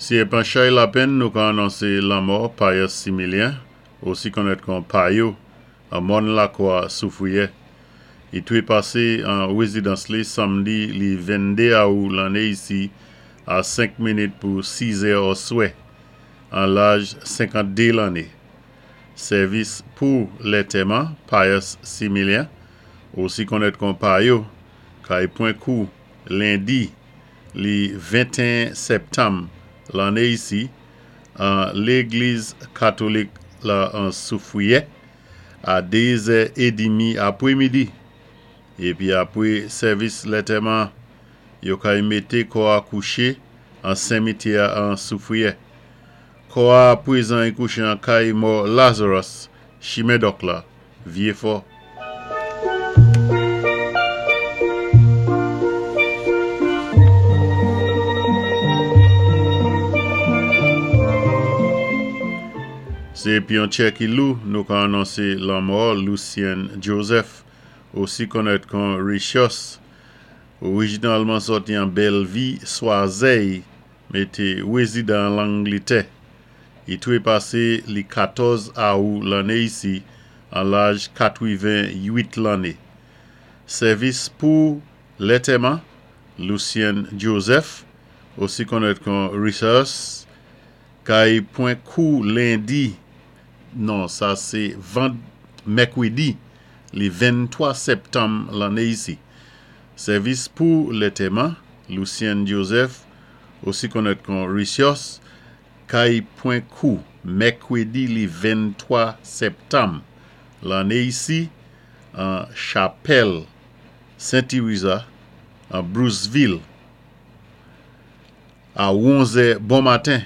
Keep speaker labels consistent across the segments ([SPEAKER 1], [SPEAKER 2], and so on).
[SPEAKER 1] Si é pan chay lapenn nou ka anonsé lanmò Pius Similien, osi konnèt kon Payo, an Mòn Lakwa, Soufwiyè. I twépasé an wézidans li samdi li 22 awou lanné isi a 5 minit pou 6 zè òswè, an laj 52 lanné. Sèvis pou lètèman Pius Similien, osi konnèt kon Payo, kay pwan kou lendi li 21 sèptanm lanné isi an légliz katolik la an Soufwiyè a 2 zè édimi apwémidi. Épi apwé sèvis lètèman, yo kay mété kò a kouché an senmityè a an Soufwiyè. Kò a apwézan i kouché an kay mò Lazarus, Chimen Dòk la, Vyéfò. Sé épi an tchè ki lou nou ka anonsé lanmò Lucien Joseph, osi konnèt kon Richos, orijinalman sòti an Bèlvi, Swazèy, mé té wézidan an Langlitè. I twépasé li 14 awou lanné isi an laj 88 lanné. Sèvis pou lètèman Lucien Joseph, osi konnèt kon Richos, kay pwan kou lendi, non sa sé vand mèkwédi li 23 sèptanm lanné isi. Sèvis pou lètèman Lucien Joseph, osi konnèt kon Richos, kay pwan kou mèkwédi li 23 sèptanm lanné isi an chapèl Sen Tiriza an Bruceville a 11 zè bon maten.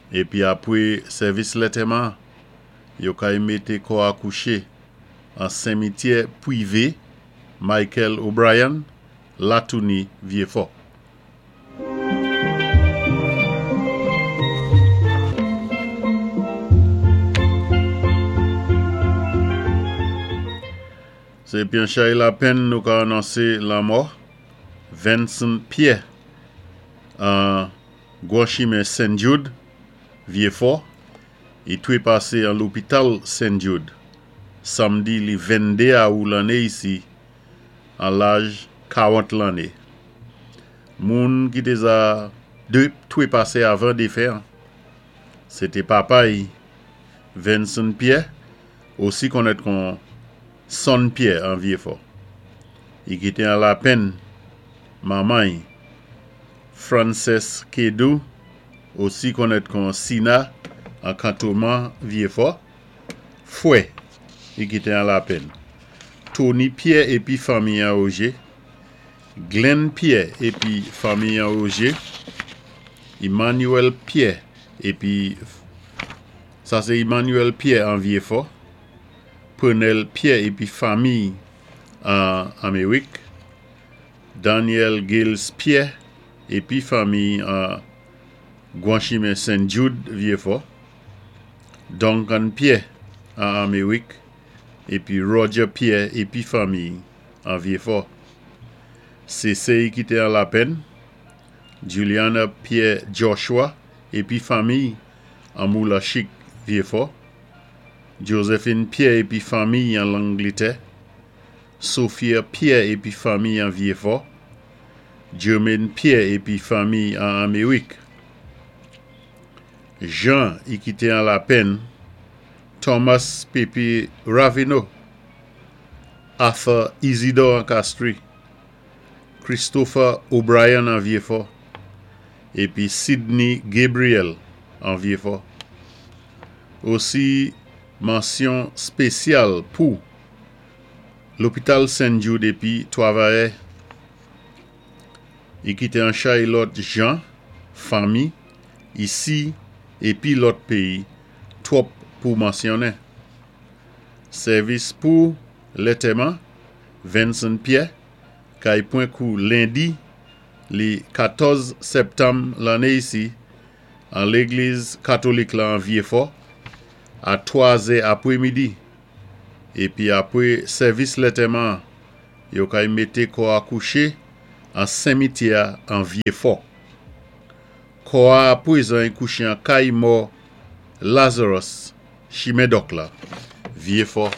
[SPEAKER 1] Épi apwé sèvis lètèman, yo kay mété kò a kouché an senmityè pwivé Michael O'Brien, Latouni, Vyéfò. Sé épi an chay lapenn nou ka anonsé lanmò Venson Pierre an Gwan Chimen Sen Jude, Vyéfò. I twépasé an lopital Sen Jude samdi li 22 awou lanné isi an laj 40 lanné. Moun ki té za twépasé avan défen an, sé té papa-y Venson Pierre, osi konnèt kon Son Pierre an Vyéfò. I kité an lapenn manman-y Frances Kedou, osi konnèt kon Sina an kantonman Vyéfò, fwè i kité an lapenn Tony Pierre épi fanmi an Ogé, Glenn Pierre épi fanmi an Ogé, Emmanuel Pierre épi sa sé Emmanuel Pierre an Vyéfò, Prenel Pierre épi fanmi an Amerik, Daniel Gilles Pierre épi fanmi an Gwan Chimen Sen Jude, Vyéfò, Duncan Pierre an Amerik épi Roger Pierre épi fanmi an Vyéfò. Sé sè-y ki té an lapenn, Juliana Pierre Joshua épi fanmi an Moulachik, Vyéfò, Josephine Pierre épi fanmi an Langlitè, Sophia Pierre épi fanmi an Vyéfò, Jermaine Pierre épi fanmi an Amerik. Jean i kité an lapenn, Thomas Pepe Raveneau, Arthur Isidore an Castries, Christopher O'Brien an Vyéfò, épi Sidney Gabriel an Vyéfò. Osi mansyon spésyal pou Lopital Sen Jude épi twavayè i kité an chay lòt jan, fanmi, isi épi lòt péyi, twòp pou mansyonnen. Sèvis pou lètèman Venson Pierre kay pwan kou lendi li 14 sèptanm lanné isi an légliz katolik la an Vyéfò a 3 zè apwémidi. Épi apwé sèvis lètèman, yo kay mété kò a kouché an senmityè an Vyéfò. Kò-a apwézan i kouché an kay mò Lazarus, chimen Dòk la, Vyéfò.